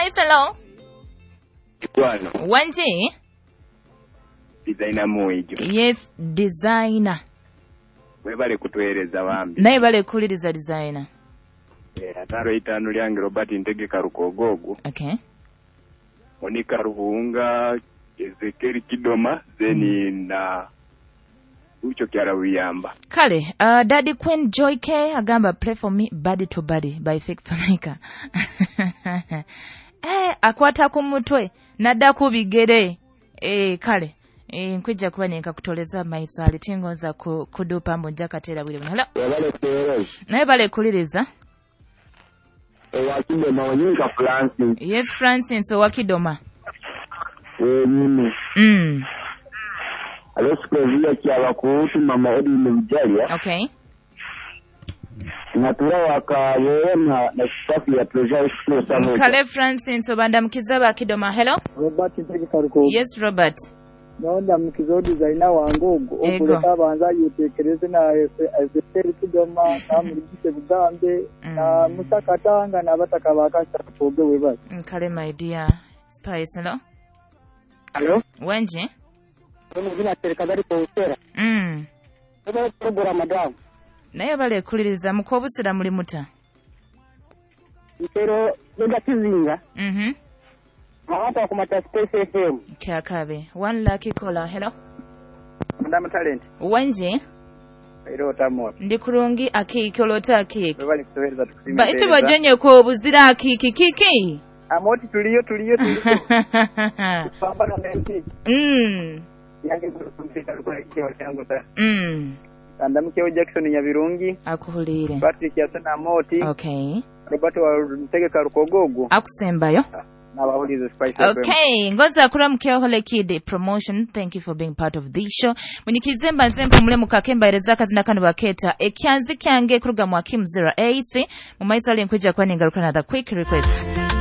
Spice, hello. Kwano. Wanji? Designer muijo. Yes, designer. Webale kutueleza wambi. Naye bale kuliriza designer. Ataro itano lyange Robert Ntegeka Rukogogo. Okay. Monica Ruhunga, Ezekiel Kidoma, zeni na ucho kyara wiyamba. Kale, Daddy Queen Joy K agamba play for me body to body by Fake Famika. Akwata ku mutwe nadda ku bigere. Kale. Nkwijja kuba nenkakutoleza maiso ali tingonza kudupa mbu nja kateera bwire buno. Hello. Naye bale kuliriza. Owakidoma onyinka Francis. Yes, Francis owakidoma. Mimi. Alosikovia kyabakuutu mama Edwin Bujalya. Okay. Natura wakaweona na staff ya Treasure School Samoja. Kale Francis obanda mkiza bakidoma. Hello. Robert Ntegeka. Yes, Robert. Naona mkizo designer wangu okuleka abanza yetekereze na Ezekiel Kidoma na Muligise Bugambe na Musa Katanga na bataka bakasa koge webali. Kale my dear Spice, hello. Hello. Wenje? Muzina serikali ko usera. Program madam. Naye bale kuliriza mukobusira muli muta. Ntero nda kizinga. Hapa kumata Space FM. Kyakabe. One lucky caller. Hello. Madam Talent. Wenje? Ero tamo. Ndi kurungi akiki olota akiki. Bali kutuweza tukusima. Ba ito bajonye ko buzira akiki kiki. Amoti tuliyo tuliyo tuliyo. Pambana na MP. Yange kumpita kwa kiwa changu sana. Andamkeo Jackson Nyabirungi. Akuhulire. Patrick Yasana Amoti. Okay. Robert wa Ntegeka Rukogogo. Akusembayo. Okay, ngoza akura mkeo kid promotion. Thank you for being part of this show. Munyikizemba nzempa mulemu kakemba ereza kazina kanu baketa. Ekyanzi kyange kuruga mwa Kim 08. Mumaiso ali nkuja kwa ningaruka na the quick request.